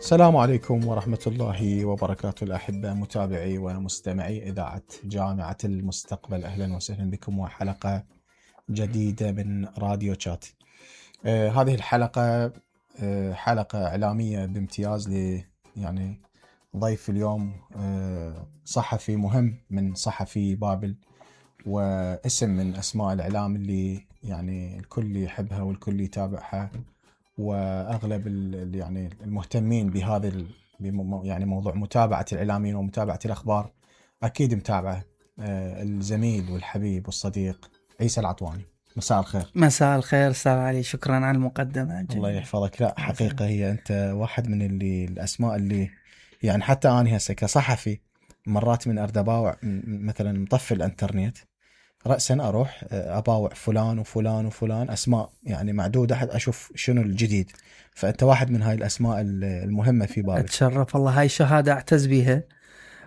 السلام عليكم ورحمة الله وبركاته. الأحبة متابعي ومستمعي إذاعة جامعة المستقبل، أهلا وسهلا بكم وحلقة جديدة من راديو شات. هذه الحلقة حلقة إعلامية بامتياز يعني ضيف اليوم صحفي مهم من صحفي بابل، واسم من أسماء الإعلام اللي يعني الكل يحبها والكل يتابعها، واغلب يعني المهتمين بهذا يعني موضوع متابعه الاعلاميين ومتابعه الاخبار اكيد متابعه. الزميل والحبيب والصديق عيسى العطواني، مساء الخير. مساء الخير استاذ علي، شكرا على المقدمه. الله يحفظك. لا حقيقه هي انت واحد من الاسماء اللي يعني حتى انا هسه كصحفي مرات من اردباوع مثلا مطفي الانترنت رأسا أروح أباوع فلان وفلان وفلان، أسماء يعني معدودة حتى أشوف شنو الجديد. فأنت واحد من هاي الأسماء المهمة في بابل. أتشرف والله، هاي شهادة أعتز بها،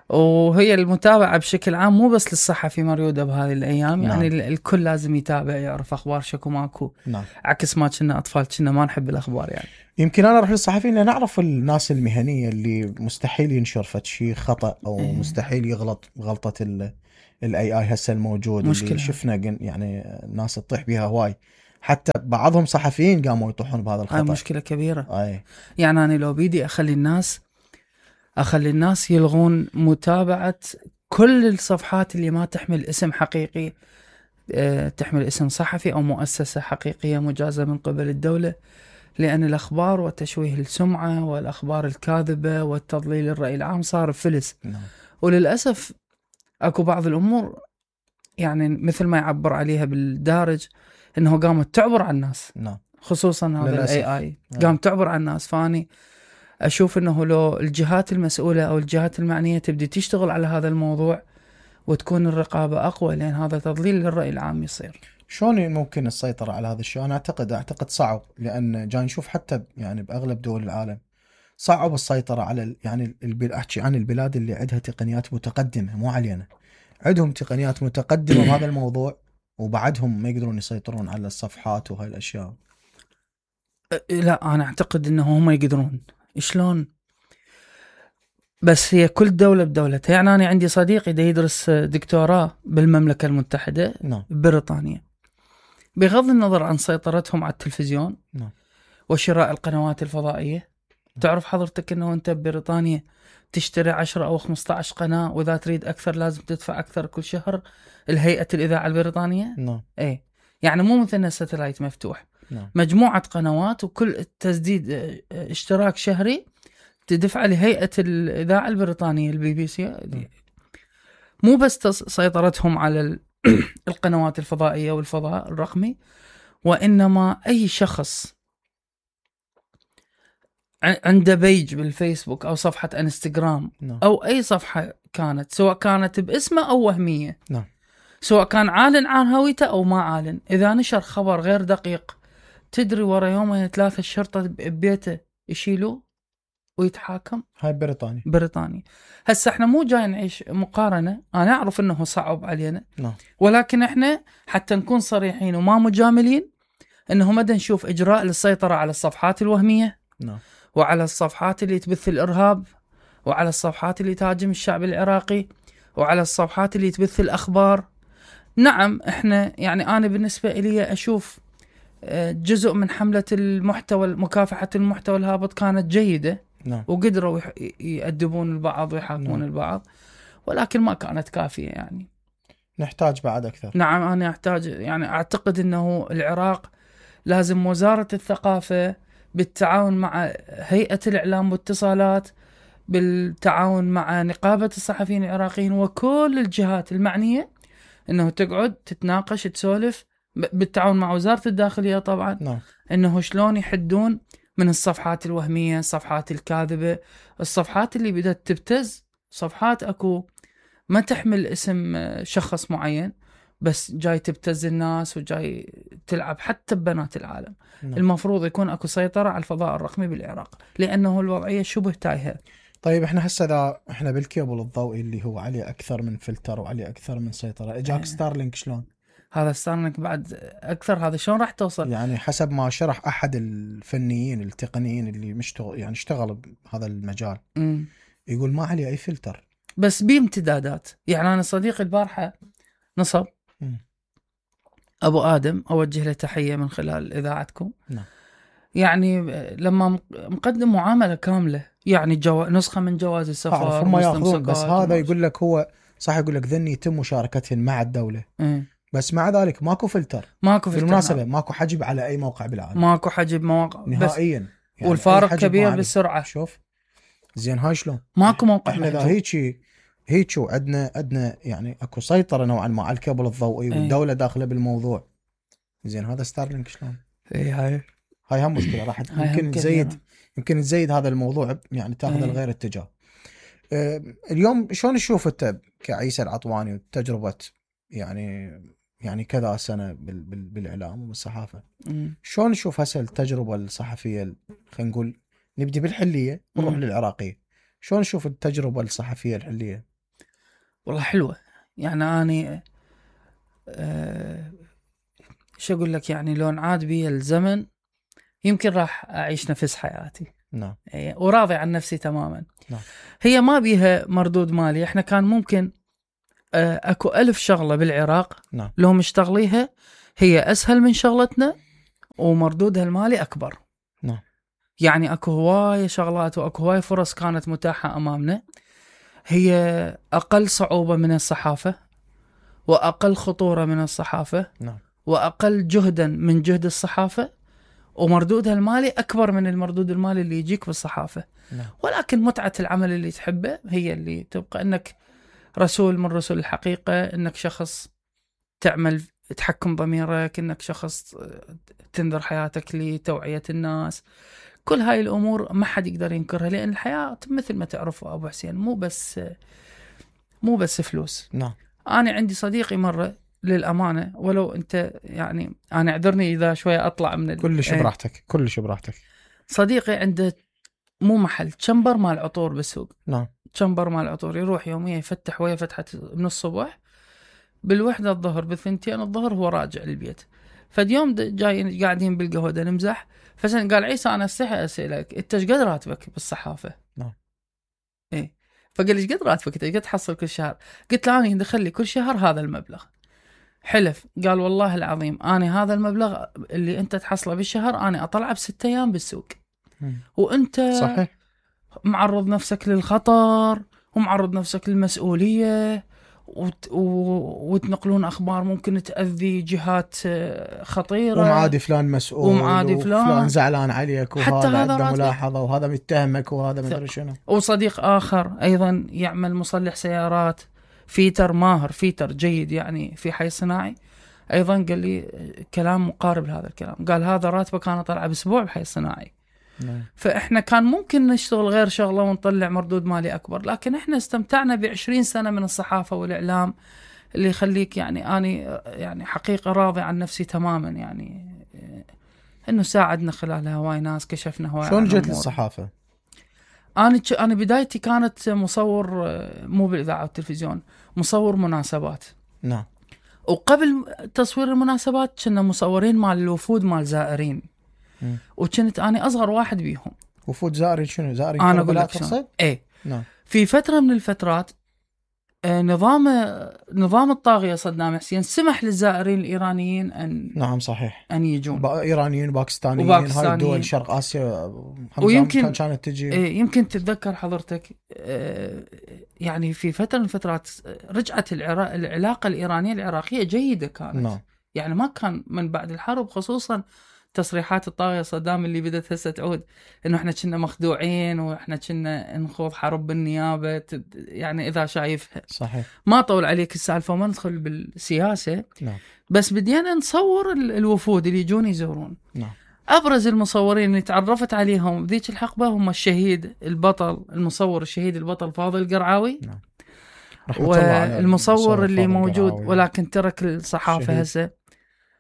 وهي المتابعة بشكل عام مو بس للصحفي مريودة بهذه الأيام. نعم. يعني الكل لازم يتابع يعرف أخبار شكو ماكو. نعم. عكس ما كنا أطفال كنا ما نحب الأخبار يعني. يمكن أنا أروح للصحفيين لأن نعرف الناس المهنية اللي مستحيل ينشر فد شيء خطأ أو مستحيل يغلط غلطة الاي هسه الموجود مشكلة. اللي شفنا يعني الناس تطيح بها هواي، حتى بعضهم صحفيين قاموا يطيحون بهذا الخطأ. هاي مشكلة كبيرة. أي. يعني أنا لو بيدي أخلي الناس يلغون متابعة كل الصفحات اللي ما تحمل اسم حقيقي، تحمل اسم صحفي أو مؤسسة حقيقية مجازة من قبل الدولة، لأن الأخبار وتشويه السمعة والأخبار الكاذبة والتضليل الرأي العام صار فلس. نعم. وللأسف أكو بعض الأمور يعني مثل ما يعبر عليها بالدارج إنه قامت تعبر على الناس. نعم. خصوصا هذا الاي قام تعبر على الناس. فاني اشوف انه لو الجهات المسؤولة او الجهات المعنية تبدي تشتغل على هذا الموضوع وتكون الرقابة اقوى، لان هذا تضليل للرأي العام يصير. شلون ممكن السيطرة على هذا الشيء؟ أنا أعتقد صعب، لأن جاي نشوف حتى يعني بأغلب دول العالم صعب السيطرة على يعني أحكي عن البلاد اللي عندها تقنيات متقدمة، مو علينا، عندهم تقنيات متقدمة بهذا الموضوع وبعدهم ما يقدرون يسيطرون على الصفحات وهاي الأشياء. لا أنا أعتقد أنه هم يقدرون. شلون؟ بس هي كل دولة بدولتها. يعني أنا عندي صديقي دا يدرس دكتوراه بالمملكة المتحدة. نعم. بريطانيا، بغض النظر عن سيطرتهم على التلفزيون. نعم. وشراء القنوات الفضائية. تعرف حضرتك أنه أنت ببريطانيا تشتري 10 أو 15 قناة، وإذا تريد أكثر لازم تدفع أكثر كل شهر الهيئة الإذاعة البريطانية. نعم. إيه، يعني مو مثلنا ساتلايت مفتوح. نعم. مجموعة قنوات، وكل تسديد اشتراك شهري تدفع لهيئة الإذاعة البريطانية البي بي سي. مو بس سيطرتهم على القنوات الفضائية والفضاء الرقمي، وإنما أي شخص عنده بيج بالفيسبوك أو صفحة انستغرام أو أي صفحة كانت، سواء كانت باسمه أو وهمية، سواء كان عالن عن هويته أو ما عالن، إذا نشر خبر غير دقيق تدري ورا يومين 3 الشرطة ببيته يشيلوه ويتحاكم. هاي بريطانيا. هسه احنا مو جاي نعيش مقارنة، انا اعرف انه صعب علينا. نعم. ولكن احنا حتى نكون صريحين وما مجاملين، انه مدى نشوف اجراء للسيطرة على الصفحات الوهمية. نعم. وعلى الصفحات اللي تبث الارهاب، وعلى الصفحات اللي تهاجم الشعب العراقي، وعلى الصفحات اللي تبث الاخبار. نعم احنا يعني انا بالنسبة لي اشوف جزء من حملة المحتوى، مكافحة المحتوى الهابط كانت جيدة. نعم. وقدروا يأدبون البعض ويحاكمون البعض، ولكن ما كانت كافية. يعني نحتاج بعد أكثر. نعم، أنا أعتقد أنه العراق لازم وزارة الثقافة بالتعاون مع هيئة الإعلام والاتصالات، بالتعاون مع نقابة الصحفيين العراقيين وكل الجهات المعنية، أنه تقعد تتناقش تسولف بالتعاون مع وزارة الداخلية طبعا. نعم. أنه شلون يحدون من الصفحات الوهمية، الصفحات الكاذبة، الصفحات اللي بدأت تبتز، صفحات أكو ما تحمل اسم شخص معين بس جاي تبتز الناس وجاي تلعب حتى ببنات العالم. المفروض يكون أكو سيطرة على الفضاء الرقمي بالعراق، لأنه الوضعية شبه تايهة. طيب احنا بالكيبل الضوئي اللي هو عليه أكثر من فلتر وعليه أكثر من سيطرة، إجاك ستارلينك شلون؟ هذا ستارلينك بعد اكثر. هذا شلون راح توصل؟ يعني حسب ما شرح احد الفنيين التقنيين اللي يعني اشتغل بهذا المجال، يقول ما عليه اي فلتر، بس بامتدادات. يعني انا صديقي البارحه نصب ابو ادم، اوجه له تحيه من خلال اذاعتكم. نعم. يعني لما مقدم معامله كامله، يعني نسخه من جواز السفر، هم ياخذون، بس هذا يقول لك هو صح، يقول لك ذني يتم مشاركتهن مع الدوله. بس مع ذلك ماكو فلتر. بالمناسبه ماكو حجب على اي موقع بالعالم، ماكو حجب مواقع نهائيا. يعني والفارق كبير بالسرعه. شوف زين هاي شلون ماكو موقع احنا اذا هيك عندنا يعني اكو سيطره نوعا ما على الكابل الضوئي والدوله داخله بالموضوع. زين هذا ستارلينك شلون؟ هاي هم مشكله راح يمكن تزيد هذا الموضوع، يعني تاخذ الغير اتجاه. اليوم شلون تشوف انت كعيسى العطواني وتجربه يعني كذا سنه بالاعلام والصحافه، شلون نشوف هسه التجربه الصحفيه؟ خلينا نقول نبدي بالحليه ونروح للعراقيه. شلون نشوف التجربه الصحفيه الحليه؟ والله حلوه. يعني اني شو اقول لك، يعني لو انعاد بي الزمن يمكن راح اعيش نفس حياتي. نعم. وراضي عن نفسي تماما. نعم. هي ما بيها مردود مالي. احنا كان ممكن اكو 1000 شغله بالعراق. نعم. لو مشتغليها هي اسهل من شغلتنا ومردودها المالي اكبر. نعم. يعني اكو هواي شغلات واكو هواي فرص كانت متاحه امامنا، هي اقل صعوبه من الصحافه واقل خطوره من الصحافه. نعم. واقل جهدا من جهد الصحافه، ومردودها المالي اكبر من المردود المالي اللي يجيك بالصحافه. نعم. ولكن متعه العمل اللي تحبه هي اللي تبقى، انك رسول من رسل الحقيقه، انك شخص تعمل تحكم ضميرك، انك شخص تنذر حياتك لتوعيه الناس. كل هاي الامور ما حد يقدر ينكرها، لان الحياه مثل ما تعرفوا ابو حسين مو بس فلوس. نعم. انا عندي صديقي مره للامانه، ولو انت يعني انا اعذرني اذا شويه اطلع من كلش براحتك، كلش براحتك. صديقي عنده مو محل، تشمبر مال عطور بالسوق. نعم. تشمبر مال عطور، يروح يوميا يفتح ويا فتحه من الصبح، بالوحده الظهر، بالثنتين الظهر هو راجع للبيت. فاليوم جاي قاعدين بالقهوه نمزح، فسن قال عيسى انا استحي اسالك انت ايش قد راتبك بالصحافه؟ نعم. ايه. فقال لي ايش قد راتبك انت، ايش قد تحصل كل شهر؟ قلت له انا يدخل لي كل شهر هذا المبلغ. حلف قال والله العظيم انا هذا المبلغ اللي انت تحصله بالشهر انا اطلعه ب6 ايام بالسوق. وانت صحيح معرض نفسك للخطر ومعرض نفسك للمسؤوليه، وتنقلون اخبار ممكن تاذي جهات خطيره، ومعادي فلان مسؤول، ومعادي فلان زعلان عليك، وهذا عنده ملاحظه، وهذا متهمك، وهذا مدري شنو. وصديق اخر ايضا يعمل مصلح سيارات، فيتر ماهر، فيتر جيد يعني في حي صناعي، ايضا قال لي كلام مقارب لهذا الكلام. قال هذا راتبه كان طلع باسبوع بحي صناعي. فاحنا كان ممكن نشتغل غير شغله ونطلع مردود مالي اكبر، لكن احنا استمتعنا ب20 سنه من الصحافه والاعلام اللي يخليك يعني اني يعني حقيقه راضي عن نفسي تماما، يعني انه ساعدنا خلالها هواي ناس، كشفنا هواي. شلون جت للصحافه؟ انا بدايتي كانت مصور، مو بالاذاعه والتلفزيون، مصور مناسبات. نعم. وقبل تصوير المناسبات كنا مصورين مال الوفود مال زائرين. وكنت انا اصغر واحد بيهم. وفود زائرين شنو؟ زائرين انا اقول لك شنو. ايه. نعم. في فتره من الفترات نظام الطاغيه صدام حسين سمح للزائرين الايرانيين ان نعم صحيح ان يجون، ايرانيين وباكستانيين هاي الدول شرق اسيا، ويمكن كانت تجي. يمكن تتذكر حضرتك يعني في فتره من الفترات رجعت العلاقه الايرانيه العراقيه جيده كانت. نعم. يعني ما كان من بعد الحرب، خصوصا تصريحات الطاغية صدام اللي بدت هسه تعود انه احنا كنا مخدوعين واحنا كنا نخوض حرب بالنيابة، يعني اذا شايفها. صحيح. ما طول عليك السالفة وما ندخل بالسياسة. نعم. بس بدينا نصور الوفود اللي يجون يزورون. نعم. ابرز المصورين اللي تعرفت عليهم بذيك الحقبة هم الشهيد البطل، المصور الشهيد البطل فاضل القرعاوي. نعم. والمصور اللي موجود ولكن ترك الصحافة هسه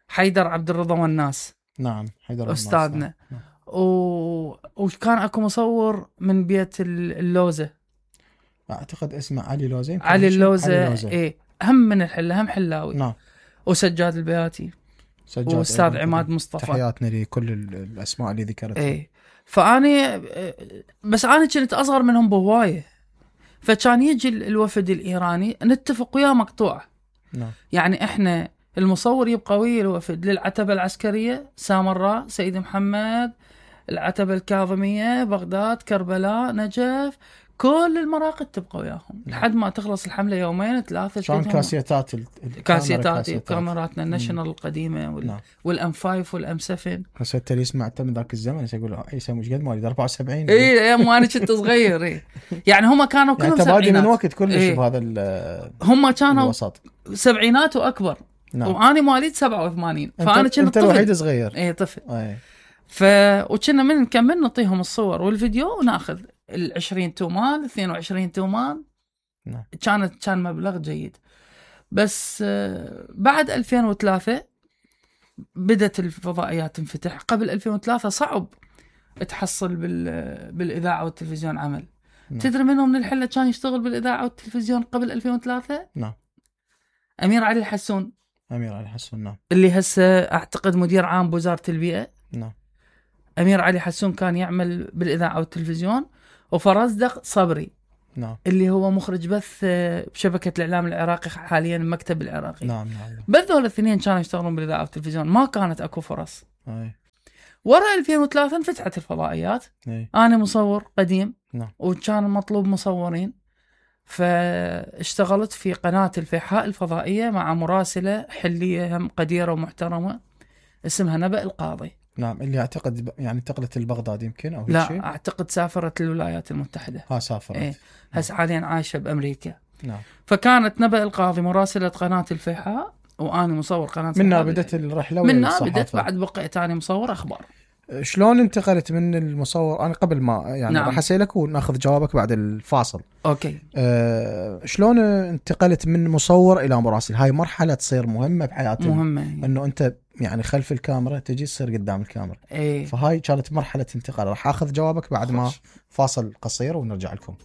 حيدر عبد الرضا والناس. نعم. حيدر أستاذنا. نعم. وكان أكو مصور من بيت اللوزة، أعتقد اسمه علي لوزة. علي اللوزة. إيه، هم من الحلة، هم حلاوي. نعم. وسجاد البياتي واستاذ عماد مصطفى. تحياتنا لكل الاسماء اللي ذكرتها. اي فاني بس انا كنت اصغر منهم بهوايه، فكان يجي الوفد الايراني نتفق وياه مقطوعه. نعم. يعني احنا المصور يبقى ويا الوفد للعتبه العسكريه، سامراء، سيد محمد، العتبه الكاظميه، بغداد، كربلاء، نجف، كل المراقد تبقى وياهم لحد ما تخلص الحمله يومين 3. كان كاسيتات كاميراتنا الناشونال القديمه نعم. والام 5 والام 7. كاسيت اللي سمعته من ذاك الزمن يقول عيسى مش قد مواليد 74. اي وانا كنت صغير. اي يعني هم كانوا كلهم يعني تبادي من سبعينات. وقت كلش بهذا هم كانوا الوسط. سبعينات واكبر. نعم. وانا مواليد 87 فانا كنت انت الوحيد صغير. اي طفل. اي وكنا من نكمل نعطيهم الصور والفيديو وناخذ 20 تومان 22 تومان. نعم. كان مبلغ جيد. بس بعد 2003 بدت الفضائيات تنفتح. قبل 2003 صعب تحصل بالاذاعه والتلفزيون عمل. نعم. تدري منهم من الحله كان يشتغل بالاذاعه والتلفزيون قبل 2003؟ نعم. امير علي الحسون. امير علي الحسون. نعم. اللي هسه اعتقد مدير عام بوزاره البيئه. نعم. امير علي حسون كان يعمل بالاذاعه والتلفزيون. وفرزدق صبري. نعم. اللي هو مخرج بث بشبكه الاعلام العراقي حاليا المكتب العراقي. نعم. نعم. بس هذول الاثنين كانوا يشتغلون بالاذاعه والتلفزيون، ما كانت اكو فرص. اي. ورا 2003 انفتحت الفضائيات. اي. انا مصور قديم. نعم. وكان مطلوب مصورين، فاشتغلت في قناه الفيحاء الفضائيه مع مراسله حليه هم قديره ومحترمه اسمها نبأ القاضي. نعم. اللي اعتقد يعني انتقلت لبغداد يمكن او لا شيء. اعتقد سافرت للولايات المتحده. سافرت. ايه هسه حاليا عايشه بامريكا. نعم. فكانت نبأ القاضي مراسله قناه الفيحاء وانا مصور قناه منها بدت الرحله. منها بدت. بعد بقيت انا مصور اخبار. شلون انتقلت من المصور؟ انا قبل ما يعني نعم. راح اسالك وناخذ جوابك بعد الفاصل. اوكي. شلون انتقلت من مصور الى مراسل؟ هاي مرحله تصير مهمه بحياتنا. مهمه. انه انت يعني خلف الكاميرا تجي تصير قدام الكاميرا. ايه. فهاي كانت مرحله انتقال. راح اخذ جوابك بعد ما فاصل قصير ونرجع لكم.